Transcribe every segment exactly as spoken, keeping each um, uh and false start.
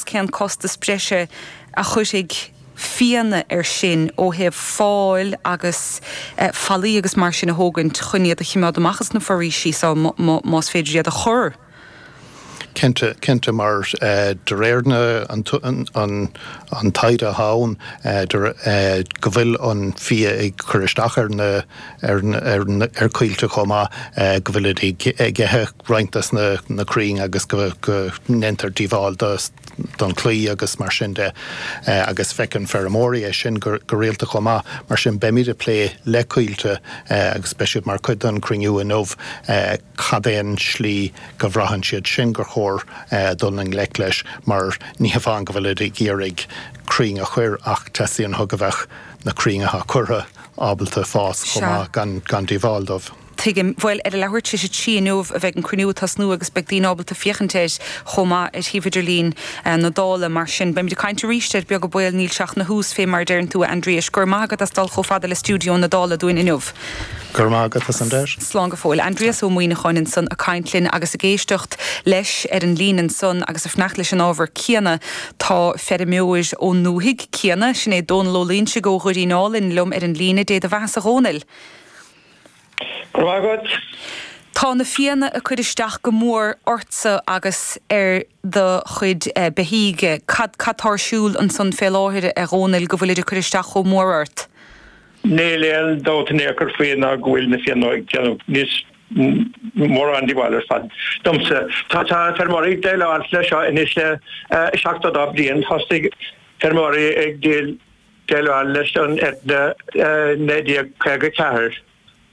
cén costas breise a chuirfidh fianna air sin ó thaobh fáil agus eh, fallaí agus mar sin a thógaint chun iad a choimeád amach as na foraoisí so más féidir iad a chur. Cinnte cinnte mar uh, de réir na an, an, an, an taighde atá ann uh, uh, go bhfuil an fia ag cur isteach ar na ar, ar, ar coillte chomh maith uh, go bhfuil ag ithe roinnt des na, na crainn agus go, go ndéantar díobháil don chlaí agus mar sin de uh, agus feiceann feirmeoirí é sin go, go rialta chomh maith mar sin beimid ag plé le Coillte uh, agus beidh siad mar chuid den chruinniú inniu uh, cad é an slí go mbraitheann siad sin gur chóir uh, dul i ngleic leis mar ní hamháin go bhfuil ag iarraidh crainn a chur ach teastaíonn go bheadh na crainn atá curtha ábalta fás chomh maith gan gan díobháil dóibh. Tuigim bhuel ar a leathuair tar éis a trí inniu a bheidh an cruinniú ag tosnú agus beidh daoine ábalta féachaint air chomh maith ar shuíomh idirlín eh, na Dála mar sin beimid ag caint arís ar beag beal níl seach na hús fé mar deireann tú Aindrias gur maith as dul chomh fada le stiúideo na Dála dúinn inniu. Gur maith as an deis? Slán go fóill. Aindrias Ó Muimhneacháin ansan ag caint linn agus ag éisteacht leis ar an líne ansan agus ag fanacht leis an ábhar céanna tá feirmeoir ón ndúthaigh céanna sin é Dónal Ó Loingsigh ó Dhoirín Álainn liom ar an líne Dé do bheatha a Dhónaill. Go Tá na fianna ag cur isteach go mór ortsa agus ar do chuid eh, beithígh cad atá ar siúl ansan fé láthair a Dhónaill go bhfuil ag cur isteach chomh mór ort. Níl aon dabht in aon chor faoi ná go bhfuil na fianna ag déanamh níos mórán díobháil ar fad. Domsa tá tá feirmeoirí ag déileáil le seo anois le eh, seachtó dó bliain thosaigh feirmeoirí ag déileáil leis an eithne eh, naoi déag caoga ceathair.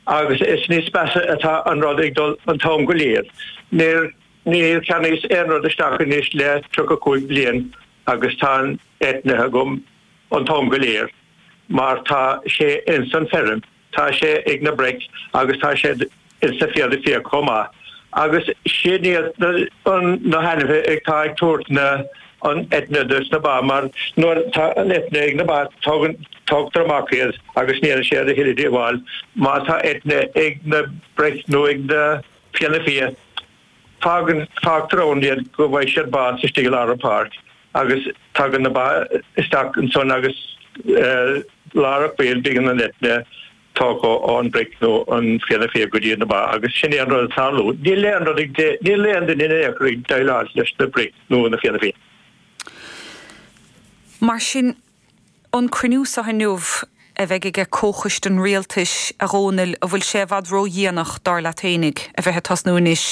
agus is níos measa atá an rud ag dul an t-am go léir. Níor níor cheannaíos aon rud isteach anois le tríocha cúig bliain agus tá an eithne agam an t-am go léir, mar tá sé ins an feirm, tá sé ag na bric agus tá sé ins na fianna fia chomh maith. Agus sin iad na hainmhithe ag tá ag tabhairt na an eithne dos na ba mar nuair tá an eithne ag na ba tógtar amach iad agus níl sé a thuilleadh díobháil má tá eithne ag na bric nó ag na fianna fia. Fágann fágtar ann iad go bhfaighidh siad bás istigh i lár an pháirc agus tagann na ba isteach ansan agus eh, lár an choill bíonn an eithne tógtha ón bric nó an fianna fia go dtí na ba agus sin é an rud tarlú. Níl aon rud níl aon duine in aon chor ag déileáil leis na bric nó na fianna fia. Mar sin an cruinniú seo inniu a bheidh ag comhchoiste an rialtais a Dhónaill an bhfuil sé i bhfad ródhéanach dar leat fhéinig a bheith ag tosnú anois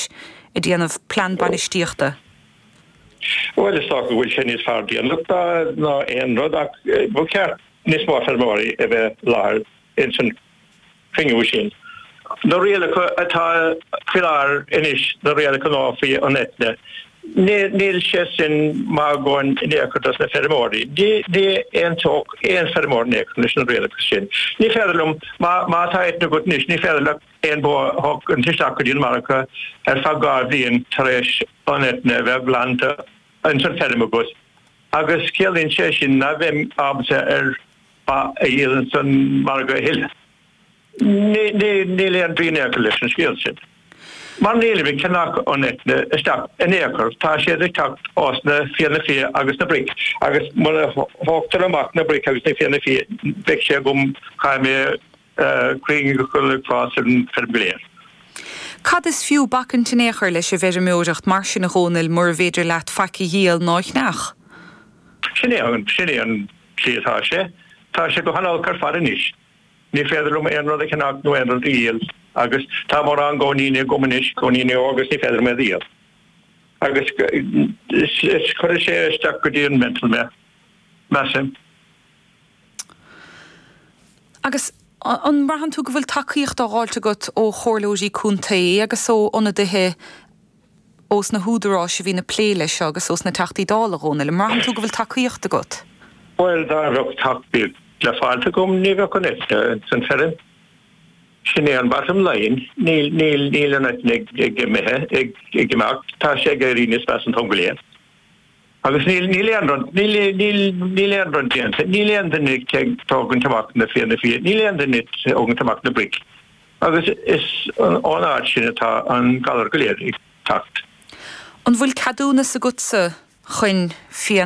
ag déanamh plean bainistíochta. Well is dócha go bhfuil sé níos fearr déanach ná aon rud ach eh, ba cheart níos mó feirmeoirí a bheith i láthair ins an chruinniú sin. Na rialacha atá faoi láthair anois na rialacha ná faoi an eithne. Níl sé sin maith in aon chor dos na feirmeoirí. Ní aontódh aon feirmeoir in aon chor leis na rialacha sin. Ní féidir liom má tá eithne agat anois, ní féidir le aon bó a thógaint isteach go dtí an margadh ar feadh dhá bhliain tar éis an eithne a bheith glanta ins an feirm agat. Agus ciallaíonn sé sin nach mbeinn ábalta ar ba a dhíol ins an margadh a thuilleadh. Níl aon bhrí in aon chor leis an scéal sin. Mar nílim ag ceannach an eithne isteach in aon chor, tá siad ag teacht ós na fianna fia agus na bric, agus muna thógtar amach na bric agus na fianna fia, beidh sé agam caithfidh mé crainn a chur ag fás ar an feirm go léir. Cad is fiú bacaint in aon chor leis an bhfeirmeoireacht mar sin a Dhónaill mura bhféidir leat faic a dhíol ná a cheannach? Sin é an sin é an tslí atá sé. Tá sé go han-olc ar fad anois. Ní féidir liom aon rud a cheannach nó aon rud a dhíol agus tá mórán góiníní agam anois, góiníní agus ní féidir liom iad a dhíol. Agus is cuirfidh sé isteach go dtí an mental mé, measaim. Agus an mbraitheann tú go bhfuil tacaíocht á fháilt agat ó chomhairleoirí contae agus ó ionadaithe ós na húdaráis a bhíonn ag plé leis seo agus ós na Teachtaí Dála a Dhónaill, an mbraitheann tú go bhfuil tacaíocht agat? Bhuel, dá mbeadh tacaíocht le fáilt agam ní bheadh an eithne san feirm. Sin é an bottom line, níl níl níl an eithne ag ag imithe ag ag imeacht, tá sé ag éirí níos measa an t-am go léir. Agus níl níl aon rud níl níl níl aon rud déanta, níl aon duine ag tógaint amach na fianna fia, níl aon duine ag tógaint amach na bric. Agus is ón áit sin atá an galar go léir ag teacht. An bhfuil ceadúnas agatsa chun fianna